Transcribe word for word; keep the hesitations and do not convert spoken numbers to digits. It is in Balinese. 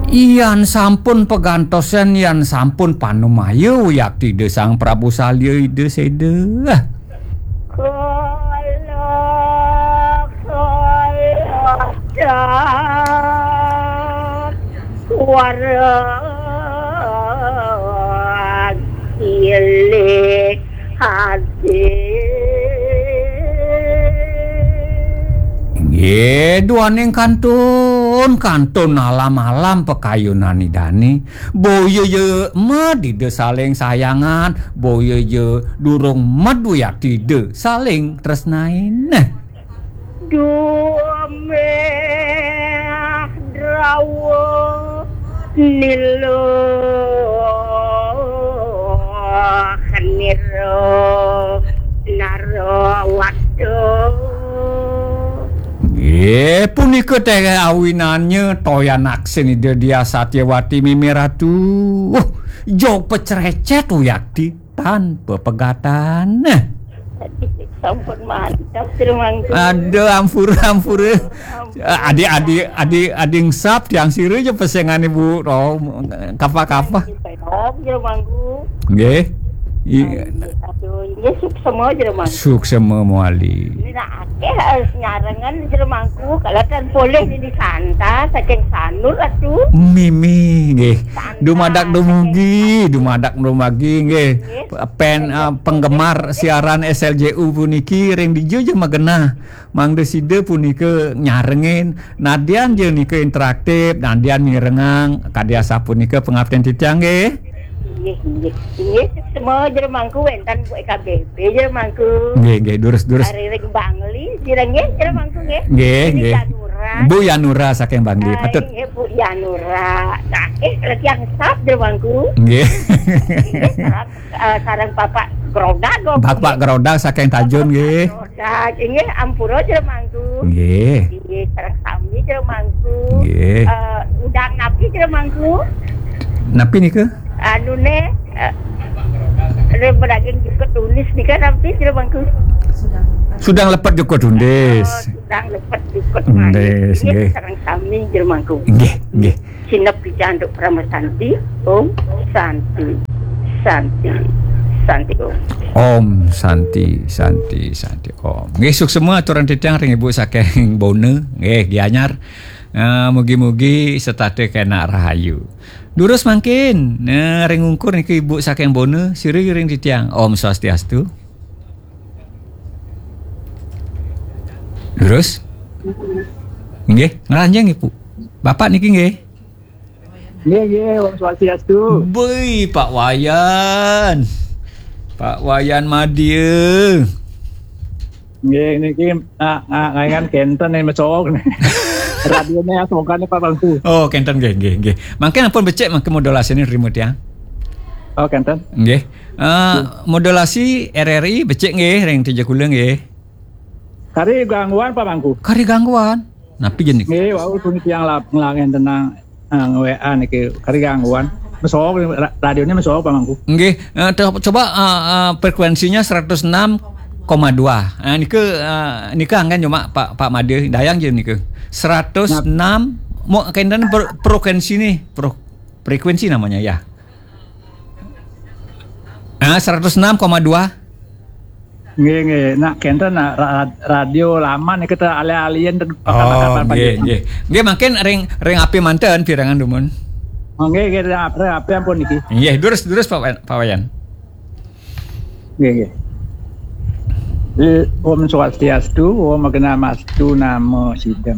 Yan sampun pagantosan, yan sampun panumaya wiakti Ida Sang Prabu Salya Ida Seda. Kala kala dan warang silih ati. Nggih, duaning kantun, kantun alam-alam pakayunan Idane. Boya ja med Ida saling sayangan, boya ja durung med wiakti Ida saling tresnain. Duh meh drawa nila nira narawata. Nggih, punika teh awinannya toyan aksin Ida Diah Satyawati mimih Ratu. Uh, jog pecrecet wiakti tan pepegatan. Sampun mantap, Jero Mangku. Aduh, ampura, ampura. Ampun. Adi, adi, adi, adi ngsap tiang sira ja pesengan Ibu. Oh, kapa-kapa. Belum, Jero Mangku. Nggih. I- Aduh, nggih, suksema, Jero Mangku. Suksema mawali. Ini nak akeh, eh, nyarengan, Jero Mangku. Kalau kan boleh ini santa, saking Sanur, Ratu. Mimih, nggih. Santa, dumadak dumugi, saking dumadak dumugi, nggih. Nggih. Pen, eh, penggemar siaran S L J U puniki ring dija ja magenah. Mangda sida punika nyarengin, nadyan ja nika interaktif, nadyan mirengang, kadi asapunika pangaptin titiang nggih. Inggih, inggih. Inggih, suksema Jero Mangku wénten Bu E K B P Jero Mangku. Nggih, nggih, durus, durus. Ari ring Bangli, sira nggih Jero Mangku nggih. Nggih, Bu nggih. Yanura. Bu Yanura saking Bangli, ah, patut. Inggih Bu Yanura. Nah, eh, lagi yang sap Jero Mangku. Nggih. Inggih, sap. Eh, sareng Bapak Grodag, kok. Bapak Grodag saking Tajun, nggih. Grodag, inggih, ampura, Jero Mangku. Nggih. Inggih, sareng sami, Jero Mangku. Nggih. Eh, udang napi, Jero Mangku? Napi nika? Anune, eh, le bedaging jukut tunis nika napi, Jero Mangku? Sudang lepet jukut tunis. Oh, sudang lepet jukut tunis. Nggih, nggih. Sareng sami, Jero Mangku. Nggih, nggih. Sineb picantuk Parama Santi. Om Santi, Santi, Santi Om. Om Santi, Santi, Santi Om. Nggih, suksema aturan titiang ring Ibu saking Bona. Nggih, Gianyar. Eh, mugi-mugi setata kena rahayu. Durus mangkin, eh, ring ungkur niki Ibu saking Bona, sira ring titiang. Om Swastiastu. Durus? Nggih, ngranjing Ibu. Bapak niki nggih. Nggih, nggih, Om Swastiastu. Bui, Pak Wayan. Pak Wayan Madya. Nggih, niki nak, nak, ngaingan kenten nih mesok nih. Radione asokan nih, Pak Bangku. Oh, kenten nggih, nggih, nggih. Mangkin ampun becik mangkin modulasi nih remote ya. Oh, kenten. Nggih. Eh, modulasi R R I becik nggih ring dija kula nggih. Kari gangguan, Pak Bangku? Kari gangguan. Napi jen niki? Nggih, wau puniki yang lap-, ngelangen tenang, eh, nge-W A niki, kari gangguan. Mesok, ra-, radionya mesok, Pak Mangku. Nggih, eh, te-, coba, eh, eh, frekuensinya seratus enam koma dua. Eh, nika, eh, nika anggen cuma Pak, Pak Made, dayang je nika. Seratus enam, mau kaitan per-, frekuensi nih, pro-, frekuensi namanya ya. Ah, seratus enam koma dua. Nggih, nggih. Nak kenten nak ra-, radio lama nih kita alih-alihin. Oh, nggih, nggih. Nggih, mangkin ring, ring api manten pirengan dumun. Oh, nggih, nggih, ring api, ring api ampun niki. Nggih, durus, durus Pak Wa-, Pak Wayan. Nggih, nggih. Eh, Om Swastiastu, Om Agnamastu, Namo Sidam.